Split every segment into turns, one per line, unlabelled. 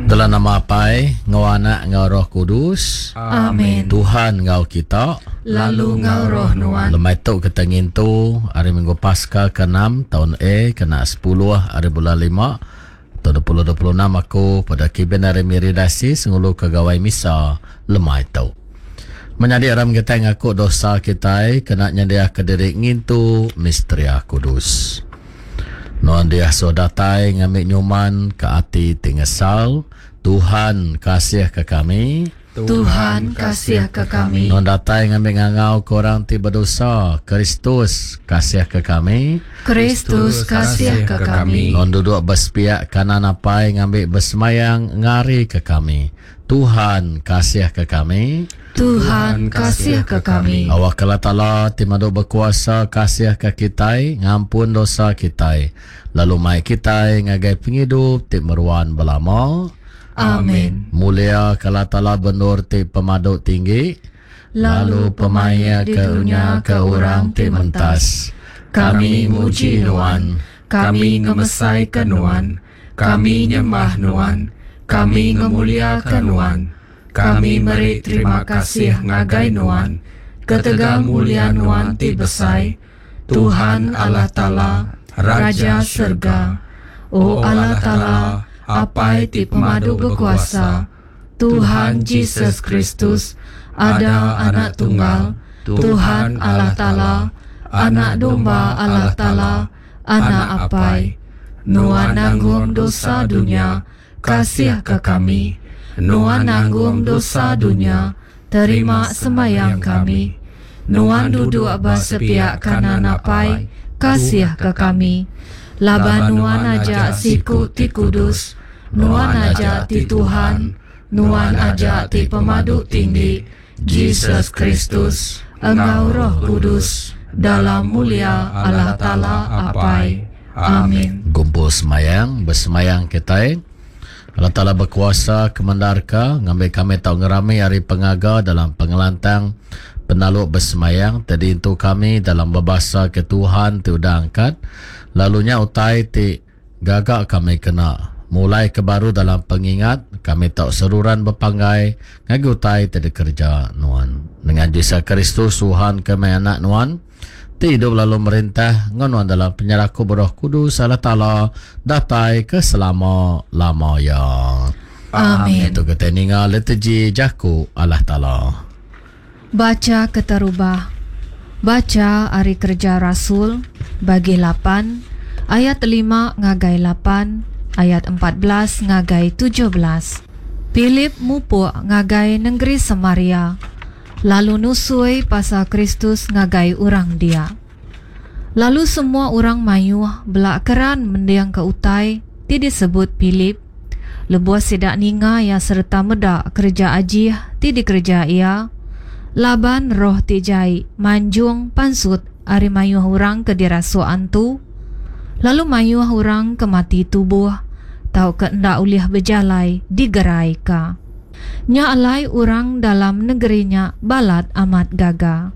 Dalam nama Apai, enggau Anak, enggau Roh Kudus.
Amin.
Tuhan enggau kita.
Lalu enggau roh nuan.
Lemai tu kita ngintu Hari Minggu Paska ke-enam taun A kena sepuluh hari bulan lima taun 2026 aku pada Kibin ari Miri Diocese nguluka Gawai Misa lemai tu. Menyadi aram kitai ngaku dosa kitai kena nyendiaka diri ngintu Misteria Kudus. Nuan diasuh datai ngambi nyuman ke ati ti ngesal, Tuhan kasih ke kami.
Tuhan kasih ke kami.
Nuan datai ngambi ngangau ke orang ti bedosa, Kristus kasih ke kami.
Kristus kasih ke kami.
Nuan duduk ba sepiak kanan Apai ngambi besemayang ngari ke kami. Tuhan kasih ke kami.
Tuhan kasih ke kami.
Awakka Allah Taala ti madu bekuasa kasih ke kitai, ngampun dosa kitai, lalu mai kitai ngagai pengidup ti meruan belama.
Amin.
Mulia ke Allah Taala bendur ti pemadu tinggi, lalu pemaik ke dunya ke orang ti mentas.
Kami muji Nuan, kami ngemesaika Nuan, kami nyembah Nuan, kami ngemuliaka Nuan. Kami meri terima kasih ngagai Nuan ketegal mulia Nuan ti besai, Tuhan Allah Taala, Raja serega. O Allah Taala, Apai ti Pemadu Bekuasa, Tuhan Jesus Kristus, ada Anak Tunggal, Tuhan Allah Taala, Anak Domba Allah Taala, Anak Apai, Nuan nanggung dosa dunya, Kasihka kami. Nuan nanggung dosa dunya, terima sembahyang kami. Nuan duduk ba sepiak kanan Apai, kasihka kami. Laban Nuan aja siku ti kudus, Nuan aja ti Tuhan, Nuan aja ti Pemadu Tinggi, Jesus Kristus, enggau Roh Kudus, dalam mulia Allah Taala Apai. Amin.
Gumpul semayang, besemayang kitai. Allah Taala bekuasa kemendarka ngambi kami tau ngerami ari pengaga dalam pengelantang penaluk besemayang ti diintu kami dalam bebasa ke Tuhan ti udah angkat lalu nya utai ti Gaga kami kena mulai ke baru dalam pengingat kami tau seruran bepanggai ngagai utai ti dikereja nuan. Nengah Jesus Kristus Tuhan kami Anak nuan, ti idup lalu merintah enggau nuan dalam penyerakup Roh Kudus Allah Taala datai ke selama lama iya.
Amin.
Tu kitai ninga liturgi jaku Allah Taala.
Bacha keterubah. Bacha ari Kereja Rasul, bagi lapan, ayat lima ngagai lapan, ayat 14 ngagai 17. Philip mupuk ngagai nengeri Samaria, lalu nusui pasal Kristus ngagai orang dia. Lalu semua orang mayuh bela keran mendingka utai ti disebut Philip. Lebuh sida ninga iya sereta meda kereja ajih ti dikereja iya, laban roh ti jai manjung pansut ari mayuh orang ke dirasuk antu, lalu mayuh orang ke mati tubuh tauka enda ulih bejalai digeraika. Nya alai orang dalam nengeri nya balat amat gaga.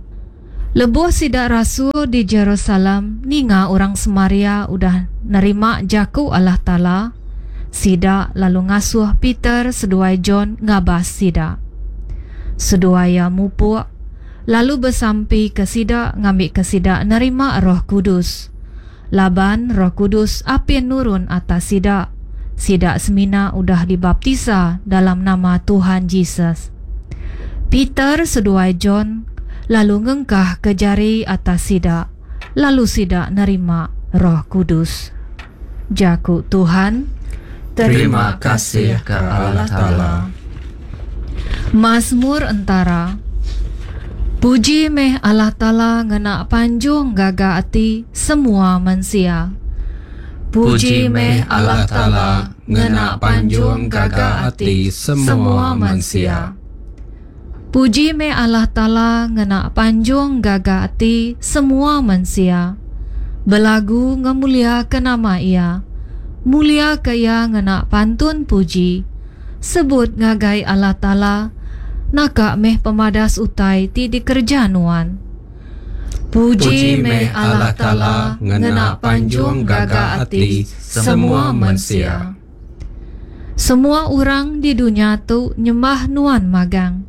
Lebuh sida rasul di Jerusalem ninga orang Samaria udah nerima jaku Allah Taala, sida lalu ngasuh Peter seduai John ngabas sida. Seduai iya mupuk, lalu besampika sida ngambika sida nerima Roh Kudus, laban Roh Kudus apin nurun atas sida, sida semina udah dibaptisa dalam nama Tuhan Jesus. Peter seduai John lalu ngengkahka jari atas sida, lalu sida nerima Roh Kudus. Jaku Tuhan.
Terima kasih ke Allah Taala.
Masmur Entara. Puji meh Allah Taala ngena panjung gaga ati semua mensia.
Puji meh Allah Taala ngena panjung gaga ati semua mensia.
Puji meh Allah Taala ngena panjung gaga ati semua mensia. Belagu ngemuliaka nama Iya. Muliaka Iya ngena pantun puji. Sebut ngagai Allah Taala, Naka meh pemadas utai ti dikereja Nuan. Puji meh Allah Taala
ngena panjung gaga ati semua mensia.
Semua orang di dunya tu nyembah Nuan magang.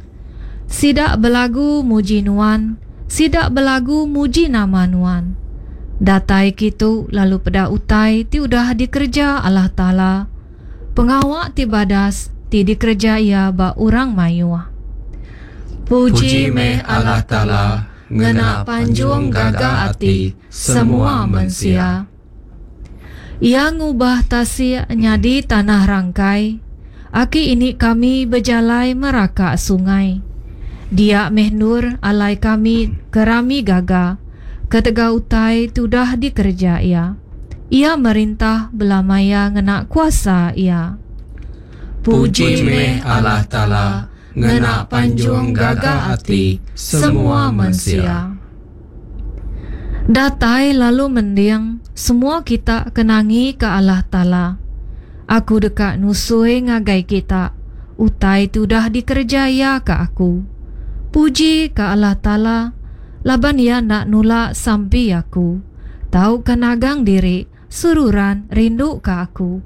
Sida belagu muji Nuan, sida belagu muji nama Nuan. Datai kitu lalu peda utai ti udah dikereja Allah Taala, pengawa ti badas ti dikereja Iya ba orang mayuh.
Puji meh Allah Taala ngena panjung gaga ati semua mensia.
Iya ngubah tasik nyadi tanah rangkai. Aki ini kami bejalai meraka sungai. Dia meh endur alai kami kerami gaga ketegal utai ti udah dikereja Iya. Iya merintah belama iya ngena kuasa Iya.
Puji meh Allah Taala ngena panjung gaga ati semua mensia.
Datai lalu mending, semua kita ke nangika Allah Taala. Aku deka nusui ngagai kita utai ti udah dikereja Iya ke aku. Puji ka Allah Taala, laban Iya enda nulak sampi aku, tauka nagang diri seruran rinduka aku.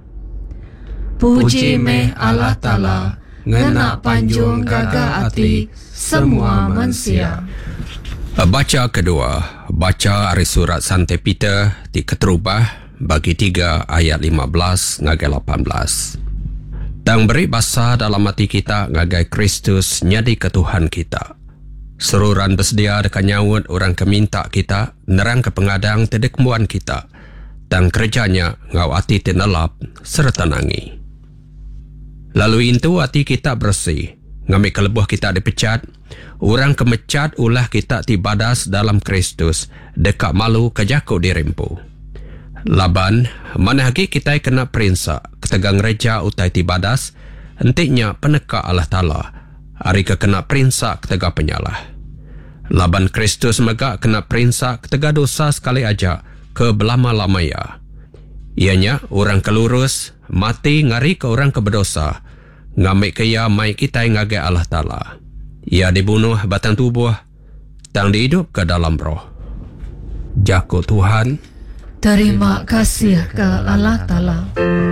Puji meh Allah Taala ngena panjung gaga ati semua mensia.
Bacha kedua, bacha ari surat Sante Peter ti keterubah bagi tiga ayat 15 ngagai 18. Tang beri basa dalam ati kita ngagai Kristus nyadika Tuhan kita. Seruran besedia deka nyaut orang ke minta kita nerangka pengadang ti dikembuan kita, tang kereja nya enggau ati ti nelap sereta nangi. Lalu intu ati kita beresi, ngambika lebuh kita dipechat, orang ke mechat ulah kita ti badas dalam Kristus deka malu ke jaku diri empu. Laban, manah agi kitai kena perinsa ketegal ngereja utai ti badas, enti nya peneka Allah Taala, ari ke kena perinsa ketegal penyalah. Laban Kristus mega kena perinsa ketegal dosa sekali aja ke belama-lama iya. Iya nya, orang ke lurus mati ngarika orang ke bedosa, ngambika iya mai kitai ngagai Allah Taala. Iya dibunuh batang tubuh, tang diidupka dalam roh. Jaku Tuhan.
Terima kasih ke Allah Taala.